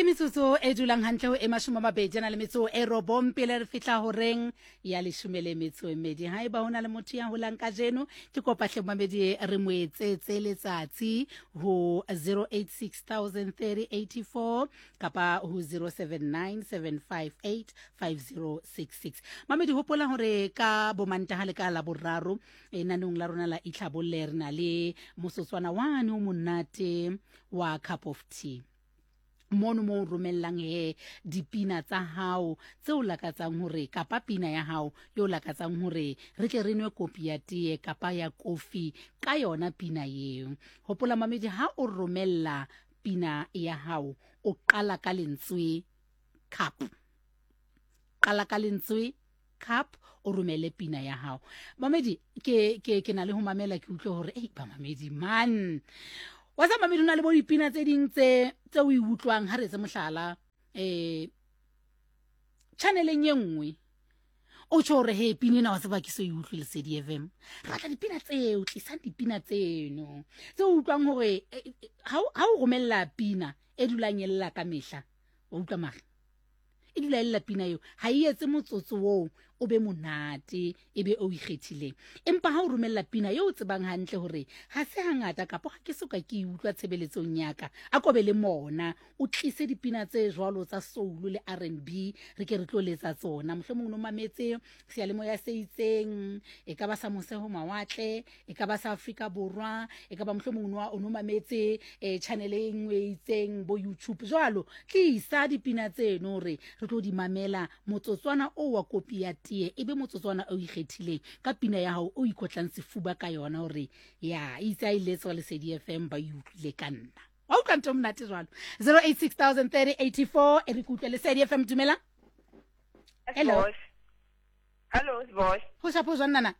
Ke metsotso e dulang hantle ho e 20 a na le metso e robong pele re fihla horeng ya leshome le metso e mmedi. Haeba ho na le motho ya holang kajeno, ke kopa hle momamedi re mo etsetse letsatsi ho 08603084 kapa ho 0797585066. Mamedi, hopola hore ka bomantaha le ka Laboraro lenanong la rona la Itlhabolle re na le mosotswana wane o monate wa cup of tea, mono mo o romellang he dipina tsa hao tse o lakatsang hore, kapa pina ya hao yo o lakatsang hore re tle re nwe kopi ya tee kapa ya kofi ka yona pina eo. Hopola mamedi, ha o romella pina ya hao o qala ka lentswe cup, qala ka lentswe cup, o romele pina ya hao. Mamedi, ke ke ke na le ho mamela, ke utlwe hore ei bamamedi man, wa tsa mamedi, o na le bo dipina tse ding tse tse o e utlwang. Ha re etse mohlala, channeleng e nngwe o tjho hore he, pina ena wa tseba ke so e utlwe Lesedi FM. Re batla dipina tseo, tlisang dipina tseno tse o utlwang hore ha o romella pina e dulang e lla ka mehla, wa utlwa mara e dula e lla pina eo, ha e etse motsotso oo o be monate e be o ikgethileng. Empa ha o romella pina eo o tsebang hantle hore ha se hangata kapa ha ke soka ke e utlwa tshebeletsong ya ka, a ko be le mona o tlise dipina tse jwalo tsa soul le R&B, re ke re tlo letsa tsona. Mohlomong o no mametse seyalemoya se itseng, e ka ba sa mose ho mawatle, e ka ba sa Afrika Borwa, e ka ba mohlomong o no mametse channel e nngwe e itseng bo YouTube jwalo. Tlisa dipina tseno re re tlo di mamela. Motsotswana o wa kopi ya tee e be motsotswana o ikgethileng ka pina ya hao o ikotlang sefuba ka yona hore ya itse a e letswa Lesedi FM, ba e utlwile ka nna. Wa utlwa ntho monate jwalo. 08603084 e re ke utlwe. Lesedi FM, dumela. Hello. Hello, boss. Ho shapo jwang nana?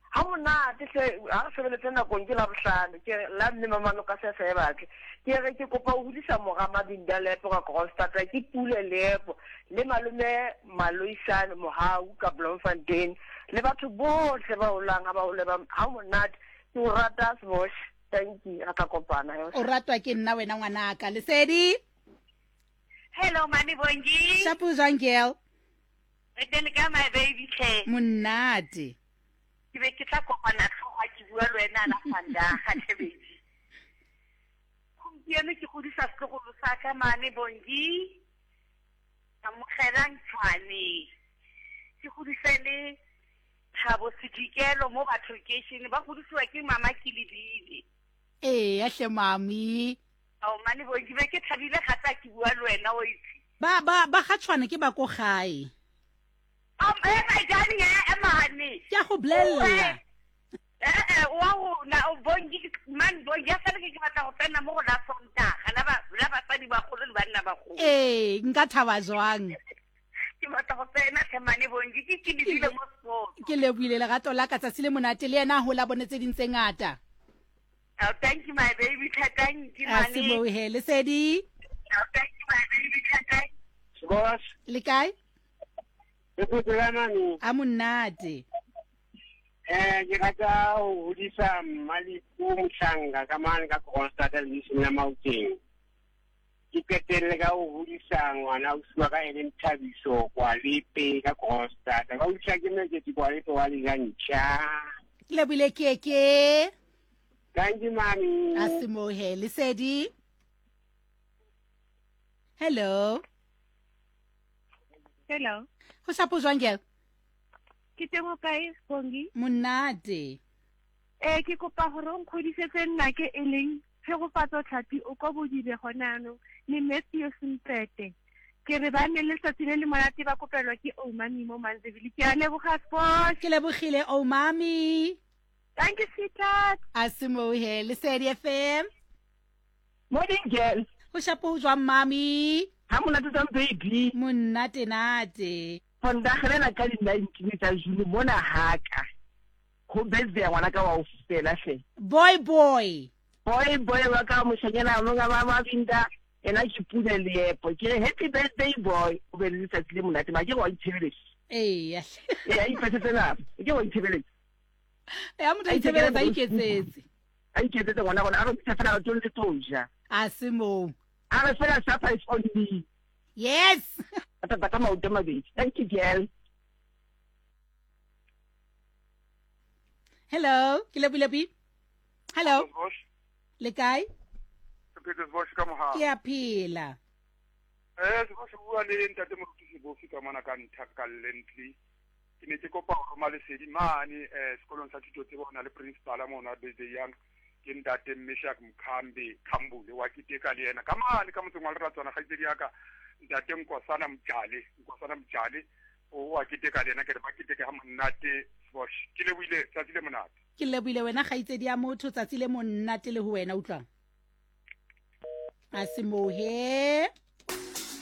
Ha monate hle, ha re sebeletse nakong ke la bohlano, ke la mme mamano ka se se batle. Ke re ke kopa ho hodisa mora Mabinda Leepo ka Kroonstad, ke Pule Leepo le malome Maloisane Mohau ka Bloemfontein le batho bohle ba holang ha ba hole ba ha monate. Ke o rata Sbosh. Thank you. Re tla kopana. O ratwa ke nna wena ngwanaka. Lesedi. Hello Mami Bongi. Shapo jwang girl? Re teng ka my baby tlhe. Monate. Ke be ke tla kopana tlhogo ke bua le wena la Vandag tlhe baby. Gompieno ke godisa setlogolo sa ka mane Bongi. Amogelang Tshwane. Ke godise le Thabo Sedikelo mo batho location ba godisiwa ke mama Kilibile. Ee, hle mami. Ao mane Bongi, be ke thabile gape a ke bua le wena o itse. Ba ba ba ga Tshwane ke ba ko gae. Eh my darling, eh mane. Ke a go bolella. Eh eh wa rona o Bongi man Bongi ya sale ke batla go tsena mo go la Sontaga la ba la basadi bagolo le banna bagolo. Ee, nka thaba jwang. Ke batla go tsena tlhe mane Bongi, ke ke lebile mo sport. Ke lebohile lerato la ka, tsatsi le monate le yena hola bone tse ding tse ngata. Oh, thank you my baby, thank you A se mane. moo he Lesedi. Oh, thank you my baby, thank Boss, Le kae? le phetse ka mami. A monate. Ke rata ho hodisa Mmalifu Mohlanka ka mane ka Kroonstad leisong la Maokeng. Ke qetelle ka ho hodisa ngwana ausi wa ka e leng Thabiso Kwalepe ka Kroonstad. Ba utlwa ke Mekete Kwalepe wa Lejantjha. Ke lebohile keke. Thank you mami. A se moo he Lesedi. Hello. Hello. Ho shapo jwang girl? Ke teng o kae Bongi? Monate. Ke kopa gore o nkgodisetse nna ke e leng Tshegofatso Tlhapi o kwa Bodibe gone anong le Matthew Sempete. Ke re ba nne le letsatsi le le monate ba kopelwa ke Oumami mo Manzebile. Ke a leboga Sport. Ke lebogile Oumami. Thank you sweetheart. A se moo he Lesedi FM. Morning girl. Ho shapo jwang mami? Ha monate jwang baby? Monate nate. Vandag lena ka di 19 tsa June mona haka. Ho birthday ya ngwana ka wa o fela hle. Boy boy. Boy boy wa ka moshanyana mo ga ba Mabinda ena ke Pule Leepo. Ke re happy birthday boy. O be le letsatsi le monate ma ke wa itshebeletsa. Ee. Ee, a ipetsetse nako. Ke wa itshebeletsa. Ya motho a itshebeletsa a iketsetse. A iketsetse ngwana gona a re bitsa fela re tlo le tlo ja. A se moo. A re fela supper is on me. Yes. A tata ka maoto a mabedi. Thank you, girl. Hello, ke Lebi. Hello. Le kae? Ke a phela. Eh, se bua le ntate Moruti Sebofi ka mona ka Nthakalle Ntli. Ke ne ke kopa ho roma lesedi mane eh sekolong sa thuto tsebo hona le principal mona the young ke ntate Meshack Mkhambe Khambule wa keteka le yena ka mane ka motseng wa Leratswana kgaitsedi ya ka ntate Nkosana Mjale Nkosana Mjale o wa keteka le yena ke re ba keteke ha monate Sbosh ke lebohile tsatsi le monate. Ke lebohile wena kgaitsedi ya motho tsatsi le monate le ho wena utlwang a se mohe.